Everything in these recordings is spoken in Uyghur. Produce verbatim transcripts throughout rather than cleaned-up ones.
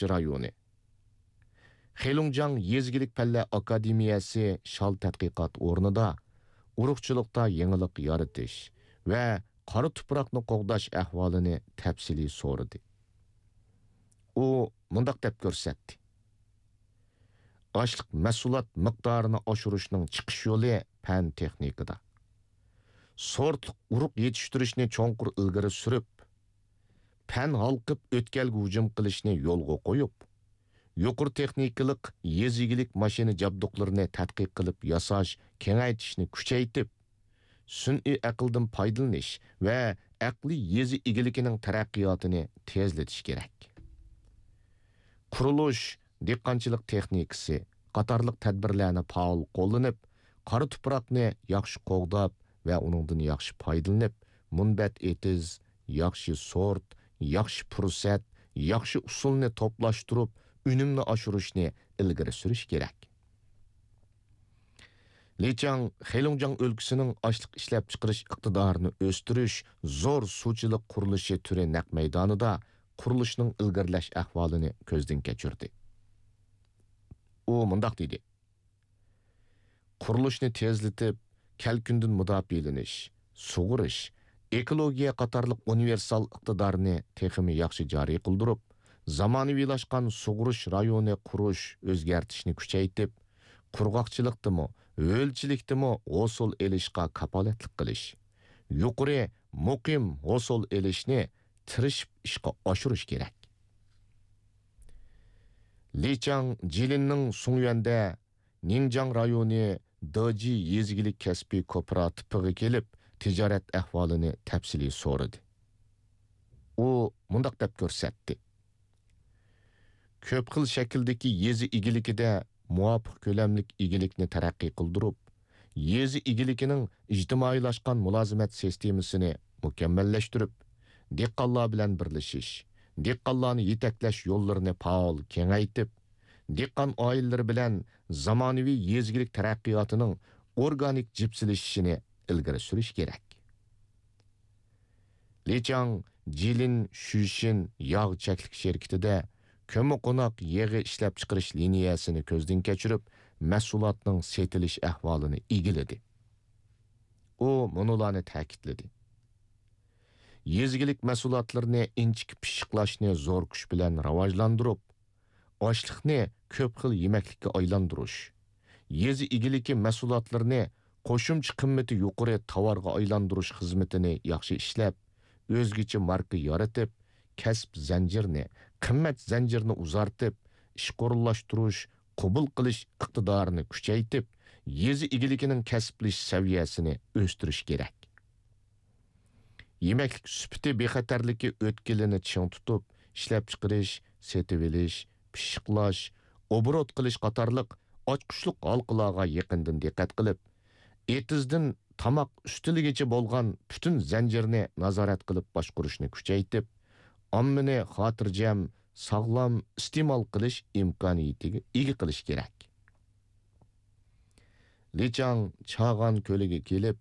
ئۇرۇقچى رايونى. خېلۇڭجياڭ يېزا ئىگىلىك پەنلەر ئاكادېمىيەسى شال تەتقىقات ئورنىدا ئۇرۇقچىلىقتا يېڭىلىق يارىتىش ۋە قارا تۇپراقنى قوغداش ئەھۋالىنى تەپسىلىي سورىدى. ئۇ مۇنداق دەپ كۆرسەتتى: ئاشلىق مەھسۇلات مىقدارىنى ئاشۇرۇشنىڭ چىقىش يولى پەن تېخنىكىدا. سورتلۇق ئۇرۇق يېتىشتۈرۈشنى چوڭقۇر ئىلگىرى سۈرۈپ، پەن ھالقىپ ئۆتكەلگە ھۇجۇم قىلىشنى يولغا قويۇپ، يۇقىرى تېخنىكىلىق يېزا ئىگىلىك ماشىنا جابدۇقلىرىنى تەتقىق قىلىپ ياساش، كېڭەيتىشنى كۈچەيتىپ، سۈنئىي ئەقىلدىن پايدىلىنىش ۋە ئەقلىي يېزا ئىگىلىكىنىڭ تەرەققىياتىنى تېزلىتىش كېرەك. قۇرۇلۇش، دېھقانچىلىق تېخنىكىسى قاتارلىق تەدبىرلەرنى پائال قوللىنىپ، قارا تۇپراقنى ياخشى قوغداپ ۋە ئۇنىڭدىن ياخشى پايدىلىنىپ، مۇنبەت ئېتىز، ياخشى سورت، ياخشى پۇرسەت، ياخشى ئۇسۇلنى توپلاشتۇرۇپ، ئۈنۈمنى ئاشۇرۇشنى ئىلگىرى سۈرۈش كېرەك. لى چاڭ خېلۇڭجياڭ ئۆلكىسىنىڭ ئاشلىق ئىشلەپچىقىرىش ئىقتىدارىنى ئۆستۈرۈش زور سۇچىلىق قۇرۇلۇشى تۈرى نەق مەيدانىدا قۇرۇلۇشنىڭ ئىلگىرىلەش ئەھۋالىنى كۆزدىن كەچۈردى. ئۇ مۇنداق دېدى: قۇرۇلۇشنى تېزلىتىپ، كەلكۈندىن مۇداپىئەلىنىش، سۇغىرىش، ئېكولوگىيە قاتارلىق ئۇنىۋېرسال ئىقتىدارنى تېخىمۇ ياخشى جارى قىلدۇرۇپ، زامانىۋىلاشقان سۇغىرىش رايونى قۇرۇش، ئۆزگەرتىشنى كۈچەيتىپ، قۇرغاقچىلىقتىمۇ، ھۆلچىلىكتىمۇ ھوسۇل ئېلىشقا كاپالەتلىك قىلىش، يۇقىرى، مۇقىم ھوسۇل ئېلىشنى تىرىشىپ ئىشقا ئاشۇرۇش كېرەك. لى چاڭ جىلىننىڭ سۇڭيۈەندە نىڭجياڭ رايونى دېجى يېزا ئىگىلىك كەسپىي كوپىراتىپىغا كېلىپ، تىجارەت ئەھۋالىنى تەپسىلىي سورىدى. ئۇ مۇنداق دەپ كۆرسەتتى: كۆپ خىل شەكىلدىكى يېزا ئىگىلىكىدە مۇۋاپىق كۆلەملىك ئىگىلىكنى تەرەققىي قىلدۇرۇپ، يېزا ئىگىلىكىنىڭ ئىجتىمائىيلاشقان مۇلازىمەت سىستېمىسىنى مۇكەممەللەشتۈرۈپ، دېھقانلار بىلەن بىرلىشىش، دېھقانلارنى يېتەكلەش يوللىرىنى پائال كېڭەيتىپ، دېھقان ئائىلىلىرى بىلەن زامانىۋى يېزا ئىگىلىك تەرەققىياتىنىڭ ئورگانىك جىپسىلىشىشىنى ئىلگىرى سۈرۈش كېرەك. لى چاڭ جىلىن شۈشىن ياغ چەكلىك شىركىتىدە كۆممىقوناق يېغى ئىشلەپچىقىرىش لىنىيەسىنى كۆزدىن كەچۈرۈپ، مەھسۇلاتنىڭ سېتىلىش ئەھۋالىنى ئىگىلىدى. ئۇ مۇنۇلارنى تەكىتلىدى: يېزا ئىگىلىك مەھسۇلاتلىرىنى ئىنچىكە پىششىقلاشنى زور كۈچ بىلەن راۋاجلاندۇرۇپ، ئاشلىقنى كۆپ خىل يېمەكلىككە ئايلاندۇرۇش، يېزا ئىگىلىكى مەھسۇلاتلىرىنى قوشۇمچە قىممىتى يۇقىرى تاۋارغا ئايلاندۇرۇش خىزمىتىنى ياخشى ئىشلەپ، ئۆزگىچە ماركا يارىتىپ، كەسىپ زەنجىرىنى، قىممەت زەنجىرىنى ئۇزارتىپ، ئىشقا ئورۇنلاشتۇرۇش، قوبۇل قىلىش ئىقتىدارىنى كۈچەيتىپ، يېزا ئىگىلىكىنىڭ كەسىپلىشىش سەۋىيەسىنى ئۆستۈرۈش كېرەك. يېمەكلىك سۈپىتى بىخەتەرلىكى ئۆتكىلىنى چىڭ تۇتۇپ، ئىشلەپچىقىرىش، سېتىۋېلىش، پىششىقلاش، ئوبوروت قىلىش قاتارلىق ئاچقۇچلۇق ھالقىلارغا يېقىندىن دىققەت قىلىپ، ئېتىزدىن تاماق ئۈستىلىگىچە بولغان پۈتۈن زەنجىرنى نازارەت قىلىپ باشقۇرۇشنى كۈچەيتىپ، ئاممىنى خاتىرجەم، ساغلام ئىستېمال قىلىش ئىمكانىيىتىگە ئىگە قىلىش كېرەك. لى چاڭ چاغان كۆلىگە كېلىپ،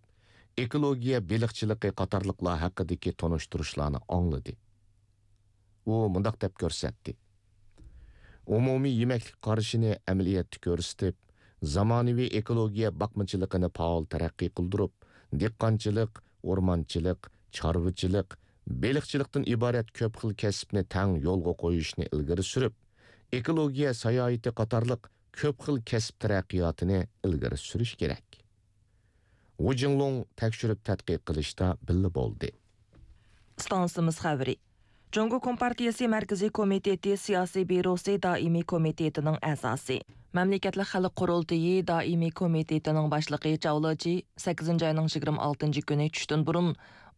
ئېكولوگىيە بېلىقچىلىقى قاتارلىقلار ھەققىدىكى تونۇشتۇرۇشلارنى ئاڭلىدى. ئۇ مۇنداق دەپ كۆرسەتتى: ئومۇمىي يېمەكلىك قارىشىنى ئەمەلىيەتتە كۆرسىتىپ، زامانىۋى ئېكولوگىيە باقمىچىلىقىنى پائال تەرەققىي قىلدۇرۇپ، دېھقانچىلىق، ئورمانچىلىق، چارۋىچىلىق، بېلىقچىلىقتىن ئىبارەت كۆپ خىل كەسىپنى تەڭ يولغا قويۇشنى ئىلگىرى سۈرۈپ، ئېكولوگىيە ساياھىتى قاتارلىق كۆپ خىل كەسىپ تەرەققىياتىنى ئىلگىرى سۈرۈش كېرەك. ۋۇ جىڭلۇڭ تەكشۈرۈپ تەتقىق قىلىشتا بىللە بولدى. ئىستانسىمىز خەۋىرى. جۇڭگو كومپارتىيىسى مەركىزىي كومىتېتى سىياسىي بيۇروسى دائىمىي كومىتېتىنىڭ ئەزاسى، مەملىكەتلىك خەلق قۇرۇلتىيى دائىمىي كومىتېتىنىڭ باشلىقى چاۋ لېچى سەككىزىنچى ئاينىڭ يىگىرمە ئالتىنچى كۈنى چۈشتىن بۇرۇن،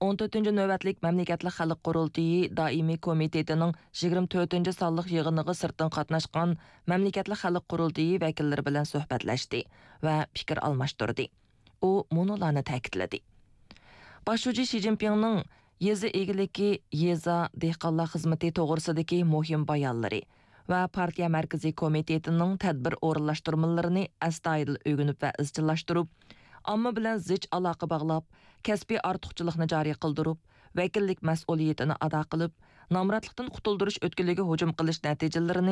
ئون تۆتىنچى نۆۋەتلىك مەملىكەتلىك خەلق قۇرۇلتىيى دائىمىي كومىتېتىنىڭ يىگىرمە تۆتىنچى سانلىق يىغىنىغا سىرتتىن قاتناشقان مەملىكەتلىك خەلق قۇرۇلتىيى ۋەكىللىرى بىلەن سۆھبەتلەشتى ۋە پىكىر ئالماشتۇردى. ئۇ مۇنۇلارنى تەكىتلىدى: باش شۇجى شى جىنپىڭنىڭ يېزا ئىگىلىكى، يېزا، دېھقانلار خىزمىتى توغرىسىدىكى مۇھىم بايانلىرى ۋە پارتىيە مەركىزىي كومىتېتىنىڭ تەدبىر ئورۇنلاشتۇرمىلىرىنى ئەستايىدىل ئۆگىنىپ ۋە ئىزچىللاشتۇرۇپ، ئامما بىلەن زىچ ئالاقە باغلاپ، كەسپىي ئارتۇقچىلىقنى جارى قىلدۇرۇپ، ۋەكىللىك مەسئۇلىيىتىنى ئادا قىلىپ، نامراتلىقتىن قۇتۇلدۇرۇش ئۆتكىلىگە ھۇجۇم قىلىش نەتىجىلىرىنى